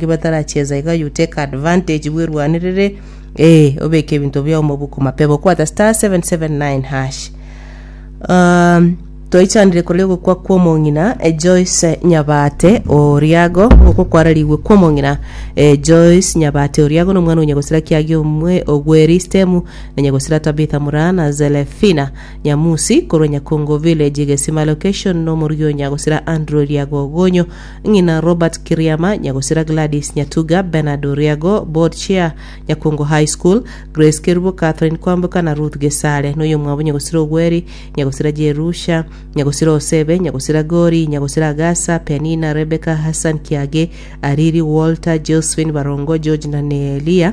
Batarachieza iga you take advantage bwerwanerere eh obeke ebinto biao mobuko mapema okwata star 779 hash um, twaichanire koria ogokwa kw'omong'ina eh, Joyce Nyabate Oriago ogokwa kwararigwe kw'omong'ina eh, Joyce Nyabate Oriago nomwana o nyagosira kiage omwe ogweristemu na nyagosira Tabitha Muraa na Zelefina Nyamusi korwa Nyakongo village Gesima location nomorugi o nyagosira Andrew Oriago Ogonyo Ng'ina Robert Kiriama, Nyagosira Gladys Nyatuga, Bernard Oriago, Board Chair, Nyakongo High School, Grace Kerubo, Catherine Kwamboka na Ruth Gesare. Noyomwabo Nyagosira Ogweri, Nyagosira Jerusha, Nyagosira Osebe, Nyagosira Gori, Nyagosira Agasa, Penina, Rebecca, Hassan Kiage, Ariri, Walter, Josephine Barongo, George na Nelia.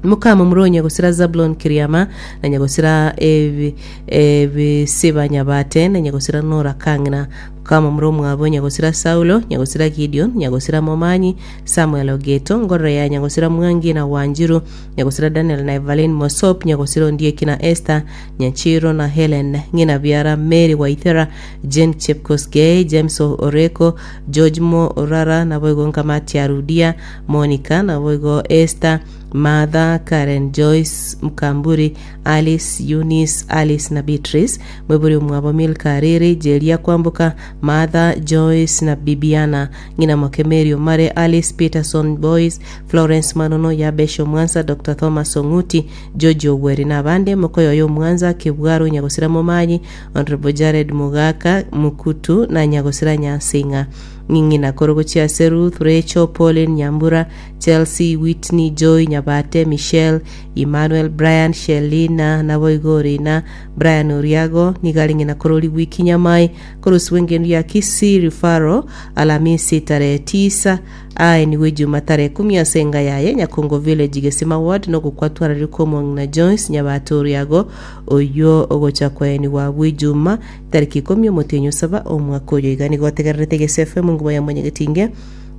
Mokamo Nyagosira Zabulon Kiriama, na Nyagosira ebi Ebisiba Nyabate, na Nyagosira Nora Kang'ina. Mokamo omwabo Nyagosira Saulo, Nyagosira Gideon, Nyagosira Momanyi, Samuel Ogeto, Ngororo ya Nyagosira Mwangi na Wanjiru, Nyagosira Daniel na Evaline Mosop, Nyagosira Ondieki na Esther, Nyachiro na Helen, Ng'ina Biara, Mary Waithera, Jane Chepkosgei, James Oreko, George Mo Orara, naboigo Nkamati Arudia, Monica, naboigo Esther, Martha, Karen, Joyce, Mkamburi, Alice, Eunice, Alice na Beatrice, Mwebori omwabo Milka Ariri, Jeria Kwamboka, Martha, Joyce na Bibiana, ng'ina moke Mary Omare, Alice Peterson Boyce, Florence Manono, Yabesh Omwansa, Doctor Thomas Ong'uti, George Ogweri na abande, Mokoyoyo Omwanza, Kebwaro Nyagosira Momanyi, Honourable Jared Mogaka Mukutu na Nyagosira Nyansing'a. Ng'ina korwa gochia ase Ruth, Rachel, Pauline Nyambura, Chelsea, Whitney, Joy, Nyabate, Michelle, Emmanuel, Brian, Shelina, naboigo Orina, Brian Oriago, nigo arenge na kororigwa ikinyamai korosibwa engendu ya Kisii Referral Alamisi tarehe tisa aenigwe Ijuma tarehe kumi ase enga yaye Nyakongo Village Gesima Ward nogokwa twararire kw'omong'ina Joyce Nyabate Oriago oyio ogocha koenigwa abwo Ijuma tariki ikomi omotienyi osaba omwaka oyo iga nigo otegererete Gese FM enguba ya Mwanyagetinge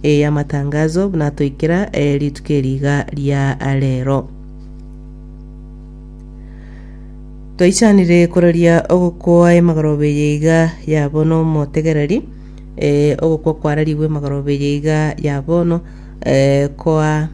ey'amatangazo buna atoikera rituko eri iga ria rero. Twaichanire koraria ogokwa emagoroba eye iga ya bono omotegereri, eh, ogokwa kwararigwe emagoroba eye iga ya bono, eh, koa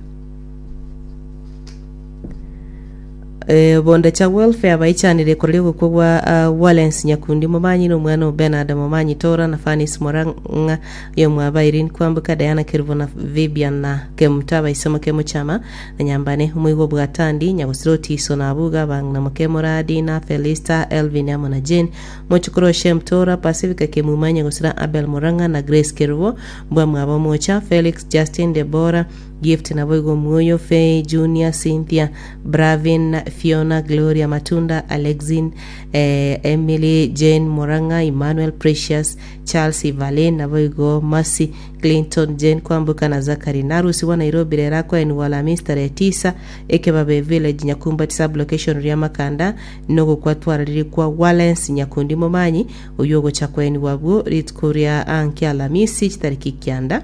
eh, Bondecha Welfare baichanire koraria ogokwa gwa ah, Walens Nyakundi Momanyi na omwana o Bernard Momanyi Tora na Fanis Morang'a oyomwabo Irene Kwamboka Diana Kerubo na Vibian na Kemuta abaisemo Kemuchama na Nyambane, omoigwa bw'Atandi, Nyagosira Otiso na Abuga, abang'ina moke Moradi, na Felista, Elvin amo na Jane, mochokoro o Shem Tora, Pacifica Kemuma, Nyagosira Abel Murang'a na Grace Kerubo, mbwamwabo Mocha, Felix, Justin, Debora, Gift naboigo Omuoyo, Fay, Junior, Cynthia, Bravin, Fiona, Gloria Matunda, Alexin, eh, Emily, Jane Murang'a, Emmanuel, Precious, Charles, Evaline, naboigo Mercy, Clinton, Jane Kwamboka na Zachary narusigwa Nairobi rero akoenigwa Alhamisi tarehe tisa Ekebabe Village Nyakumbati Sub-location Riamakanda nogokwa twararire kwa Walens Nyakundi Momanyi oyio ogocha koenigwa abwo rituko ria anki Alhamisi chitariki kianda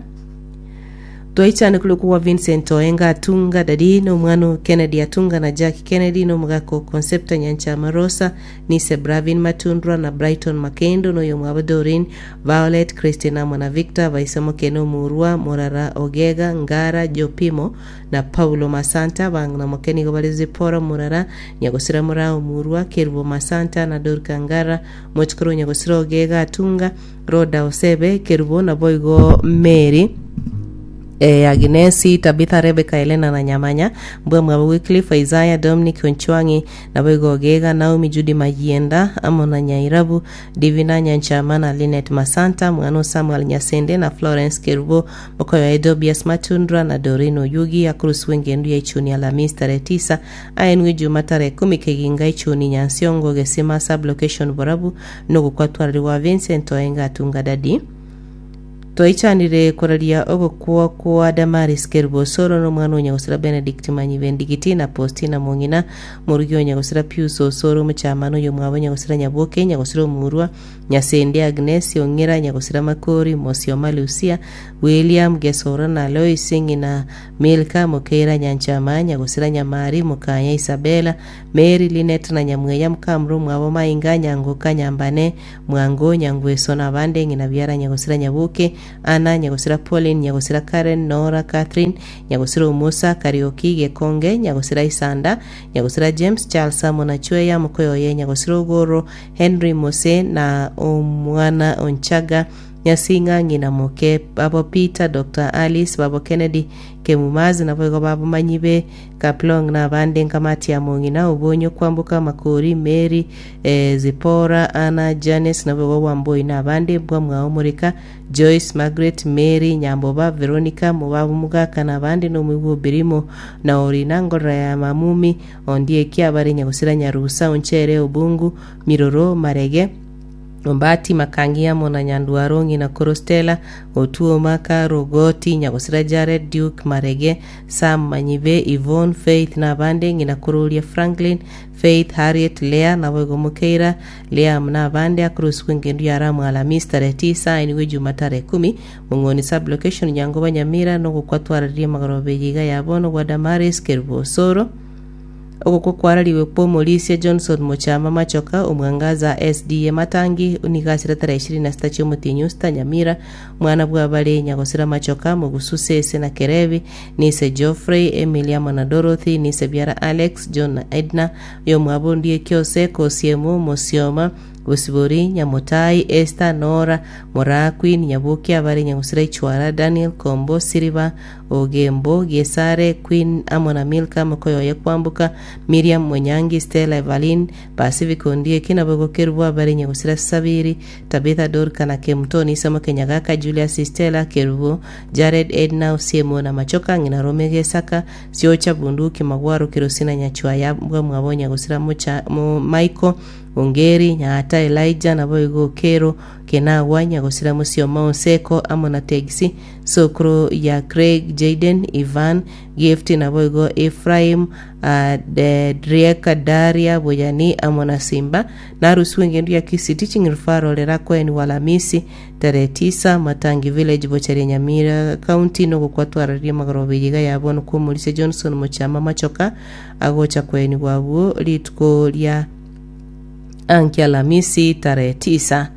Twaichane korokwa gwa Vincent Oenga Atunga Daddy nomwana o Kennedy Atunga na Jack Kennedy nomogaka o Concepta Nyanchama Rosa Nise Bravin Matundura na Brighton Makendo na oyomwabo Doreen, Violet, Christine amo na Victor, baise mokene Omurwa, Morara, Ogega, Ngara, Jopimo, na Paulo Masanta, abang'ina moke nigo bare Zipporah Morara, Nyagosira Moraa Omurwa, Kerubo Masanta, na Dorka Ngara, mochokoro o Nyagosira Ogega Atunga, Roda Osebe, Kerubo, naboigo Mary. Eh, Agnesi, Tabitha, Rebecca, Elena na Nyamanya, mbwe mwabo Wycliffe, Isaiah, Dominic, Onchwang'i, Naboigo Ogega, Naomi, Judy Mayienda, amo na Nyairabu, Divina Nyanchama na Linet Masanta, mwana o Samuel Nyasende na Florence Kerubo, mokoyo Dobias Matundra na Doreen Oyugi, akorosibwa engendu ya Ichuni Alamisi tarehe tisa, aenwe Ijuma tarehe kumi Keginga Ichuni Nyansiongo Gesima Sub-location Borabu, nogokwa Vincent Oenga Atunga Daddy. Twaichanire koraria ogokwa kwa Damaris Kerubo Osoro na omwana o nyagosira Benedict Manyibe Ndigiti na Postina Mong'ina, morugi o nyagosira Pius Osoro omochamano oyomwabo nyagosira Nyaboke, nyagosira Omurwa, Nyasende Agnes, Ong'era, nyagosira Makori, Mosioma Lucia, William Gesora na Lois ng'ina Milka, Mokeira Nyanchama, nyagosira Nyamari, Mokanya Isabella, Mary, Linet na Nyamweya Mokamura omwabo Mainga, Nyangoka, Nyambane, Mwango, Nyangweso na abande, ng'ina biara Nyagosira Nyaboke, Anna, Nyagosira Pauline, Nyagosira Karen, Nora, Catherine, Nyagosira Omusa, Karioki, Gekonge, Nyagosira Isanda, Nyagosira James, Charles amo na Chweya, mokoyo oye Nyagosira Ogoro, Henry Mose, na omwana Onchaga, Nyasinga, ng'ina moke, babo Peter, Doctor Alice, babo Kennedy, Kemumazi, naboigo babomanyi be Kaplong na abande nkamati ya mong'ina, Obonyo, Kwamboka, Makori, Mary, eh, Zipporah, Anna, Janice, naboigo Wamboi na abande, Mbwamwao Moreka, Joyce, Margaret, Mary, Nyamboba, Veronica, Mobabu Mogaka na abande, na omoigwa o Birimo, na Orina, Ngorora ya Mamumi, Ondieki, abare Nyagosira Nyarusa, Onchere, Obungu, Miroro, Marege, Ombati, Makangi amo na Nyandwaro, ng'ina koro Stella, Otuoma, Karogoti, Nyagosira Jared, Duke, Marege, Sam, Manyibe, Yvonne, Faith na abande, ng'ina koro oria Franklin, Faith, Harriet, Leah, naboigo Mokeira, Liam na abande, akorosigwa engendu ya Ramu Alamisi tarehe tisa, ainigwe Ejuma tarehe kumi, Mong'oni Sub-location, Nyangoba Nyamira, nogokwa twararirie amagoroba eye iga ya bono gwa Damaris Kerubo Osoro. Ogokwa kwarariwe kw'omorisia Johnson Mochama Machoka, Omwangaza SDA Matangi, nigo asire tarehe ishirini na sita chi'omotienyi Osita, Nyamira, Mwana bw'abare Nyagosira Machoka, Mogusu Sese na Kerebi, Nise Geoffrey, Emily amo na Dorothy, Nise biara Alex, John na Edna, oyomwabo Ondieki Ose, Kosiemu, Mosioma, Bosibori, Nyamotai, Esther, Nora, Moraa, Queen, Nyaboki, abare Nyagosira Ichwara, Daniel, Kombo, Siriba, Ogembo, Gesare, Queen amo na Milka, mokoyoye Kwamboka, Miriam, Mwenyangi, Stella, Evaline, Pacific Ondieki, naboigo Kerubo, abare Nyagosira Sabiri, Tabitha, Dorka na Kemuto, Nisamo Kenyagaka, Julius, Stella, Kerubo, Jared, Edna, Osiemo na Machoka, ng'ina Rome Gesaka, Siocha, Bunduki, Magwaro, Kerosi na Nyachwaya, mbwamwabo Nyagosira Mocha, Mo, Michael, Ongeri, Nyaata, Elijah, naboigo Okero, Kenagwa, Nyagosira Mosioma, Oseko, amo na Tegisi, Sokoro ya Craig, Jayden, Ivan, Gift, naboigo Ephraim, uh, Drieka, Daria, Boyani, amo na Simba, Narusiwe engendu ya Kisii Teaching Referral erakoenigwa Alamisi tarehe tisa, Matangi Village, Bocharia Nyamira County, nogokwa twararia amagoroba eye iga ya bono kw'omorisia Johnson Mochama Machoka agocha koenigwa abwo rituko ria anki Alamisi tarehe tisa.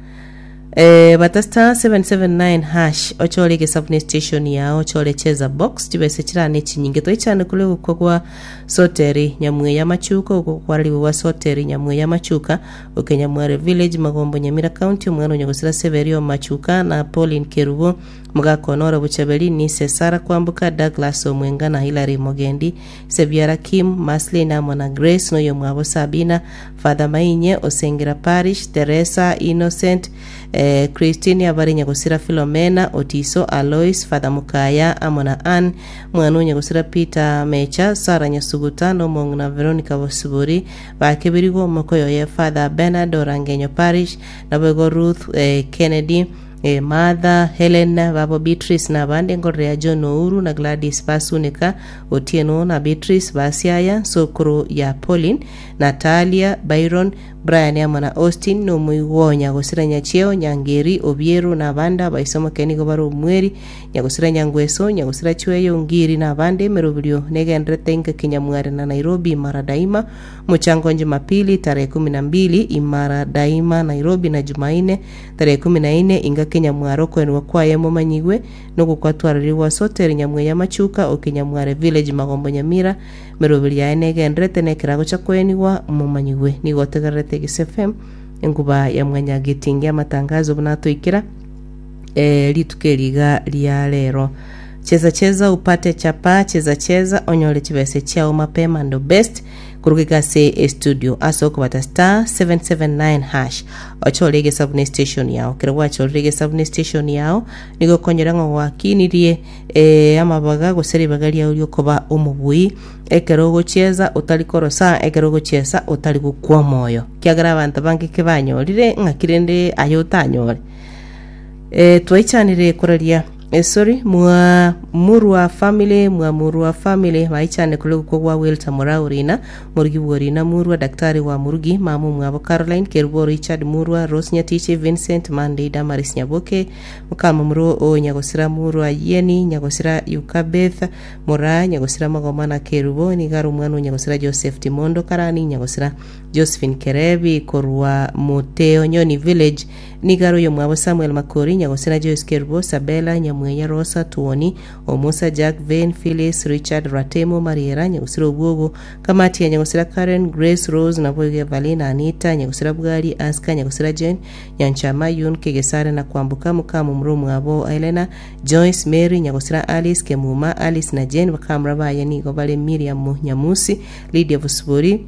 Eh, bata star 779 hash ochore egesabu station yao ochore cheza box chibese chirane chinyinge toichane kore gokwa gwa Soteri Nyamweya Machuka okwo kwarariwe gwa Soteri Nyamweya Machuka oke Nyamware Village Magombo Nyamira County omwana o Nyagosira Severio Machuka na Pauline Kerubo Mogaka Honora Bochaberi Nise Sarah Kwamboka Douglas Omwenga na Hilary Mogendi Sebiara Kim Maslin amo na Grace noyomwabo Sabina Father Mainye Osengera Parish Teresa Innocent eh, Christine abare Nyagosira Philomena Otiso Alois Father Mukaya amo na Ann Mwana o Nyagosira Peter Mecha, Sarah Nyasuguta, na omong'ina Veronica Bosibori, bakeberigwe omokoyo oye Father Bernard Orangenyo Parish, naboigo Ruth eh, Kennedy, eh, Martha, Helen, babo Beatrice na abande nkorera ya John Ouru na Gladys Basunika, Otieno na Beatrice Basiaya, sokoro ya Pauline, Natalia, Byron, Brian amo na Austin, na omoigwa o Nyagosira Nyachieo, Nyangeri, Obiero, na abande abaisomoke nigo bare omweri, Nyagosira Nyangweso, Nyagosira Chweyo, Ngiri na abande emeroberio negenderete inka Kinyamware na Nairobi Imara Daima, Mochango Jumapili tarehe kumi na mbili Imara Daima Nairobi na Jumaine tarehe kumi na ine inga Kinyamware okoenigwa kwaye momanyigwe nogokwatwarerigwa ase Hoteli Nyamweya Machuka o Kinyamware Village Magombo Nyamira emeroberio yaye negenderete na ekerago cha koenigwa momanyigwe. Nigo otegererete Gisa FM enkuba ya mwanyagetingi amatangazo buna atoikera. eh, rituko eri iga ria rero cheza cheza upate chapa cheza cheza onyore chibese chiao mapema ndo best kuruga ase estudio ase okobata star 779 hash ochore egesabune station yao kero gwachorire egesabune station yao nigo okonyora ng'a gwakinirie eh, amabaga gose ribaga riao riokoba omobui ekero ogochieza otari korosa ekero ogochiesa otari gokwa omoyo kiagera abanto bange kebanyorire ng'aki rende aye otanyore. Eh, twaichanire koraria Sorry, mwa Murwa family, mwa Murwa family, baichane kore gokwa gwa Walter Murau Rina, Morugi bwo Rina Murwa, Daktari wa Murugi, mama omwabo Caroline, Kerubo Richard Murwa, Rose Nyatichi, Vincent Monday, Damaris Nyaboke, Mokamomura o Nyagosira Murwa Yeni, Nyagosira Yukabeth, Moraa, Nyagosira Magoma na Kerubo, nigo are omwana o Nyagosira Joseph Timondo Karani, Nyagosira Josephine Kerebi korwa Moteonyoni Village, Nigo are oyomwabo Samuel Makori, Nyagosira Joyce Kerubo, Sabella, Nyamweya, Rosa, Tuoni, Omusa, Jack, Vane, Phyllis, Richard, Ratemo, Mariera, Nyagosira Obwogo, Kamatia, Nyagosira Karen, Grace, Rose, naboigo Evaline, Anita, Nyagosira Bwari, Aska, Nyagosira Jane, Nyanchama, Yun, Kegesare na Kwamboka, mokamomura omwabo Helena, Joyce, Mary, Nyagosira Alice, Kemuma, Alice na Jane, bakamura baye nigo bare Miriam Nyamusi, Lydia Bosibori,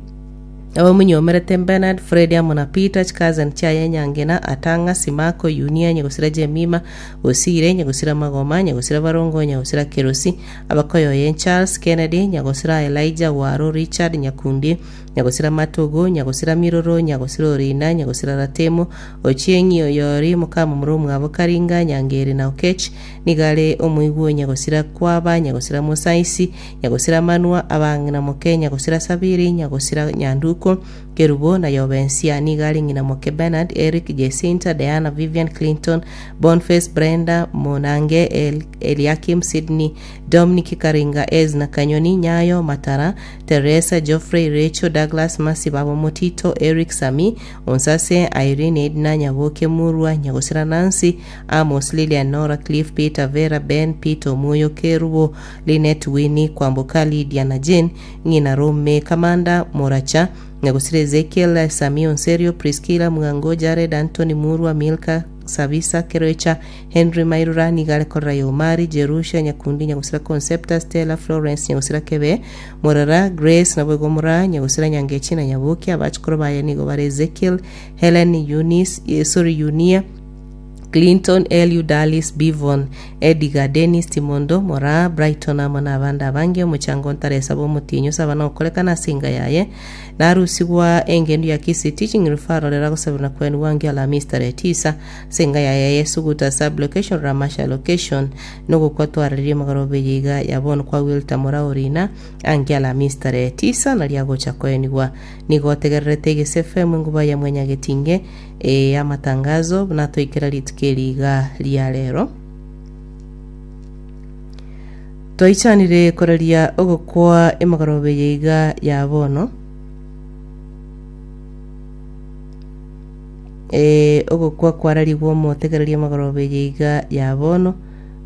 Abamonyomerete Bernard, Fred amo na Peter, chikazani chiaye Nyangena, Atang'a, Simako, Yunia, Nyagosira Jemima, Osire, Nyagosira Magoma, Nyagosira Barongo, Nyagosira Kerosi, Abakoyoye Charles, Kennedy, Nyagosira Elijah, Waro, Richard, Nyakundi, Nyagosira Matogo, Nyagosira Miroro, Nyagosira Orina, Nyagosira Ratemo, Ochieng'i, Oyori, mokamomura omwabo Karinga, Nyangeri na Okech, nigo are omoigwa o Nyagosira Kwaba, Nyagosira Mosaisi, Nyagosira Manua, abang'ina moke Nyagosira Sabiri, Nyagosira Nyanduko, Kerubo, na Yobensia. Nigo are ng'ina moke Bernard, Eric, Jacinta, Diana, Vivian, Clinton, Bonface, Brenda, Monange, El, Eliakim, Sydney, Dominic, Karinga, Ezna, Kanyoni, Nyayo, Matara, Teresa, Geoffrey, Rachel, Douglas, Mercy, Babo Motito, Eric, Sami, Onsase, Irene, Edna, Nyaboke, Murwa, Nyagosira Nancy, Amos, Lilian, Nora, Cliff, Peter, Vera, Ben, Peter, Omuyo, Kerubo, Linet, Winnie, Kwamboka, Lydia na Jane, ng'ina Rome, Kamanda, Moracha, Nyagosira Ezekiel, Sami Onserio, Priscilla, Mwango, Jared, Anthony, Murwa, Milka, Sabisa, Keroicha, Henry Mairura, nigo are korora Yomari, Jerusha, Nyakundi, Nyagosira Concepta, Stella, Florence, Nyagosira Kebe, Morara, Grace, naboigo Moraa, Nyagosira Nyangechi na Nyaboki, abachukuru baye nigo bare Ezekiel, Helen, Eunice, eh, sorry, Eunia, Clinton, Eliud, Alice, Bivon, Edgar, Dennis, Timondo, Moraa, Brighton amo nabande abange. Omochango ntaresaba omotienyi osaba nokorekana ase enga yaye. Narusigwa engendu ya Kisii Teaching Referral eragosabirwa na kwenigwa angio Alhamisi tarehe tisa ase enga yaye ya Suguta Sub Location Ramasha Location nogokwa twararirie magoroba eye iga ya bono kwa Wilter Moraa Orina angio Alhamisi tarehe tisa nario agocha koenigwa. Nigo otegererete Egese FM enguba ya Mwanyagetinge Ee, amatangazo buna toikera rituko eri iga ria rero. Twaichanire koraria ogokwa emegoroba eye iga ya bono. Ee, ogokwa kwararigwe omotegereria emegoroba eye iga ya bono.